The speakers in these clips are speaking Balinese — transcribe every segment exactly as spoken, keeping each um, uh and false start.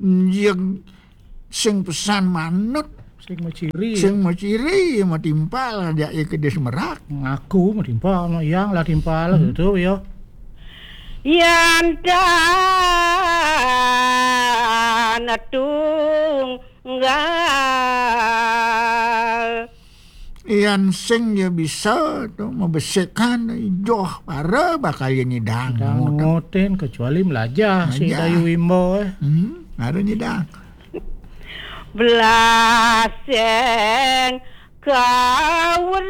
Jeng sing pesan manut. Sing maciri. Sing maciri, matimpal, ajak ia ke dia semerak. Ngaku matimpal, no, yang lah timpal, hmm, gitu, ya. Yan dan tunggal. Yan sing ya bisa tu, membersihkan, joh, para bakal ia nyidang. Nyidang ngoten, kecuali melajah, si Melajah. Dayu Wimbo, eh. Hmm, ada nyidang. Belaseng kawruh.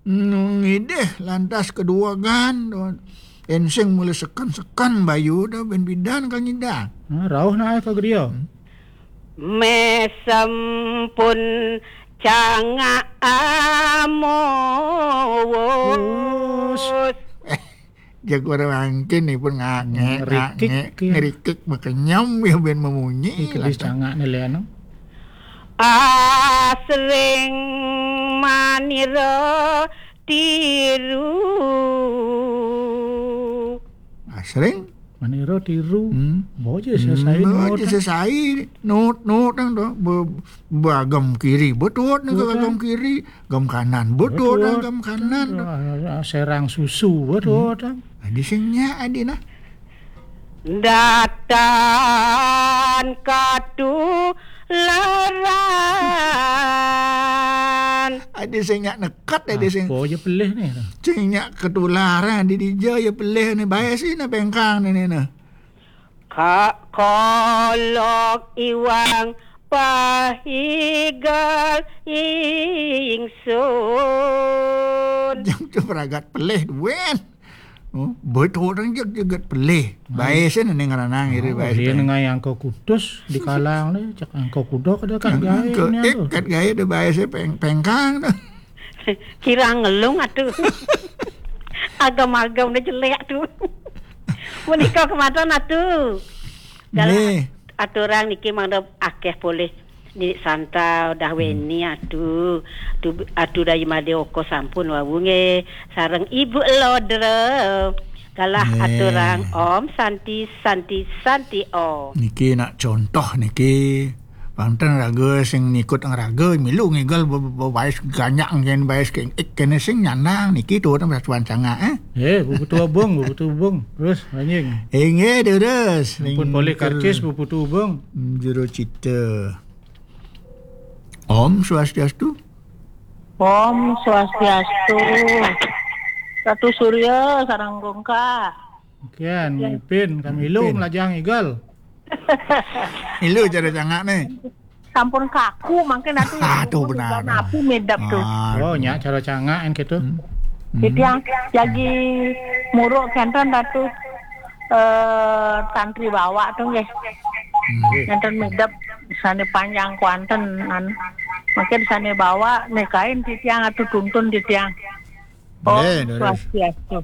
Nung idih lantas kedua gan, tu. Ensing mula sekan-sekan bayu tu, ben bidan kang nyidang. Ha, rauh naik ke geria. Hmm. Mesem pun cangak amus. Us. Eh, jago orang mangkin ni pun ngak-, ngek, Ngerikik, ngak-, ngek, ya. Ngerikik, makenyam, ya, ben memunyi. Ih, kedis lah, cangak ni, Leano. Asring manira tiru. Asring? Manira tiru. Hmm. Boja sesai. Hmm, nut, boja sesai. Nut, nut, nang tu. Be-, bagam kiri, betul, nang. Betul, agam kan? Kiri. Gam kanan, betul, betul, dah, gam kanan, dah. Ah, serang susu, betul, hmm, dah. Adi sing nyak, adi nah. Datan katularan. Adi sing nyak nekat, adi sing. Apa je pelih ni? Sing nyak ketularan, di dija ya pelih ni. Bae sih na pengkang ni, ni, nah. Kak kolok iwang pahigal ingsun. Jang tu beragat pelih, Duen. Oh, betul orang jeg-, jegat pelih. Hmm. Bae sih nang ngeranang iri. Oh, bae dia sih nengah yang kau kutus di kalang ni, cak angkau kuda kada kat. Yang gaya angkau ni ik tu. Kat gaya dia bae sih peng-, pengkang tu. Kirang ngelung atu. Agam-agam dah jelek tu. Punika kematan atu. Galah. Nggih. Aturang niki mangda akeh polih Nini Santa, dah, hmm, Weni atu. Tu atu Dayu Made Oko sampun wau nggih. Sareng Ibu Lodra. Galah, nggih, aturang Om Santi, Santi, Santi Om. Niki nak contoh niki. Pang ten raga sing nikut ang raga, milu ngigal be-, be-, bais ganyak ngen bais ke-, ik kene sing nyandang niki tu orang satuan sangak, eh. Eh, bebetu abang, bebetu abang. Terus, lanjing. Inggih, terus. Ampun polih karcis, bebetu abang. Juru cita. Om Swastiastu. Om Swastiastu. Ratu Surya, sarang gongka. Kian, kian. Mipin, kami lu melajang igal. Ilu cara cangak ni. Sampun kaku, mangkin atu. Ah, tu benar. Napi medap tu. Ah, oh, tu. Nya cara cangak kan gitu. Hmm. Hmm. Jadi yang jagi muruk kenten datu, eh, tantri bawa tu nggih. Hmm. Kenten medap sane panjang kuanten, an. Mangkin sane bawa nikain titiang atu tuntun titiang. Om, eh, Swastiastu.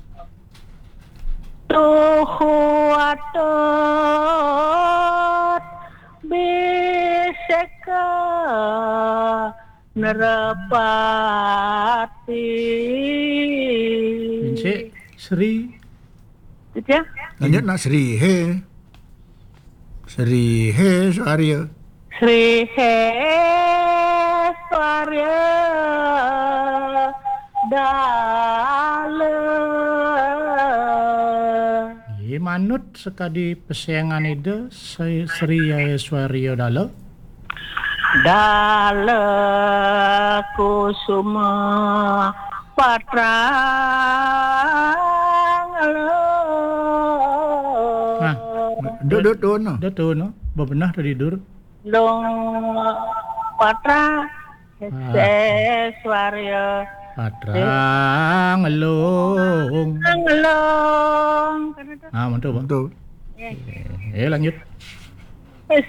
Tuhu atut biseka nerepati. Pincik, Sri. Itu ya? Lanjut nak Sri, he. Sri he Swarya. Sri he Swarya Dala. Nggih, manut sekadi pesengan Ida, Sri, Sri Aiswarya Dala. Dala Kusuma Patrang Lung. Nah, dot, dot, dot, no. Dot, dot, no. Bebenah tadi, Dur. Lung Patrang. Ah. Seswarya. Patrang Lung. Patrang Lung. Ah, mantul, Bang. Mantul. Ya. Eh, lanjut. Eh,